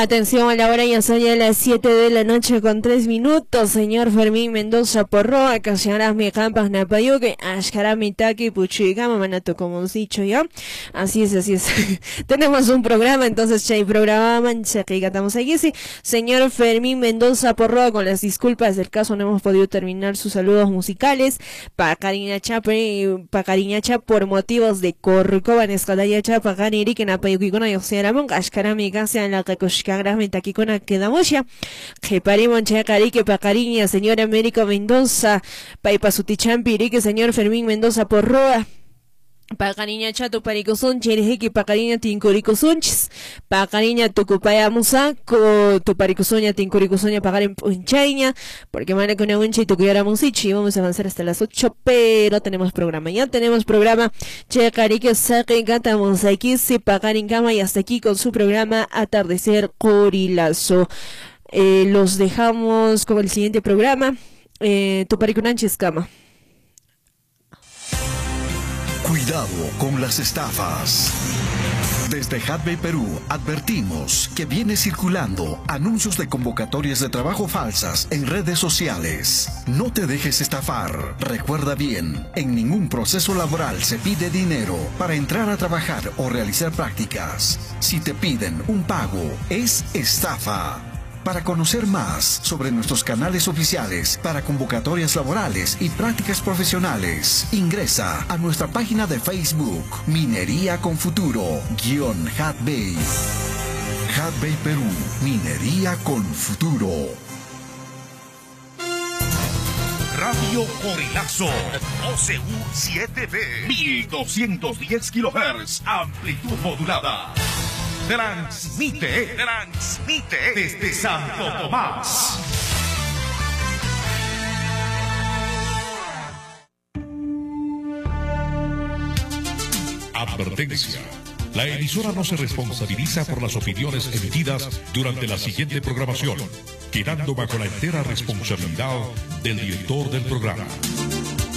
Atención a la hora, ya son ya las 7 de la noche con 3 minutos. Señor Fermín Mendoza Porroa, mi campas napayuque, ashkarami taki puchigama manato como dicho ya. Así es, así es. Tenemos un programa, entonces chay programa manchaqigatamos aquí. Sí. Señor Fermín Mendoza Porroa, con las disculpas del caso no hemos podido terminar sus saludos musicales. Paqariñacha por motivos de Corcovan esqadayacha paqaririki napayukikuna lluqsiramunqa ashkarami kashan laqakushkanraqmi takikuna quedamusha qhiparimun chayqa paqariña señor Américo Mendoza paypa sutichampi riki señor Fermín Mendoza Porroa. Paqariñacha tuparikusunchis rijiki paqariña tinkurikusunchis paqariña tukupayamusaku tuparikusuña tinkurikusuña paqarin p'unchayña porque mana kunamunchi tukuyaramunsichi. Vamos a avanzar hasta las 8, pero tenemos programa, ya tenemos programa. Chayqa saqinqatamusaykisi paqarinkama y hasta aquí con su programa Atardecer Qorilazo. Los dejamos con el siguiente programa, Tuparikunanchis kama. Cuidado con las estafas. Desde Hatbay Perú advertimos que viene circulando anuncios de convocatorias de trabajo falsas en redes sociales. No te dejes estafar. Recuerda bien, en ningún proceso laboral se pide dinero para entrar a trabajar o realizar prácticas. Si te piden un pago, es estafa. Para conocer más sobre nuestros canales oficiales para convocatorias laborales y prácticas profesionales, ingresa a nuestra página de Facebook Minería con Futuro -Hatbay. Hatbay Perú, Minería con Futuro. Radio Corilazo, OCU 7B, 1210 kHz, amplitud modulada. Transmite desde Santo Tomás. Advertencia. La emisora no se responsabiliza por las opiniones emitidas durante la siguiente programación, quedando bajo la entera responsabilidad del director del programa.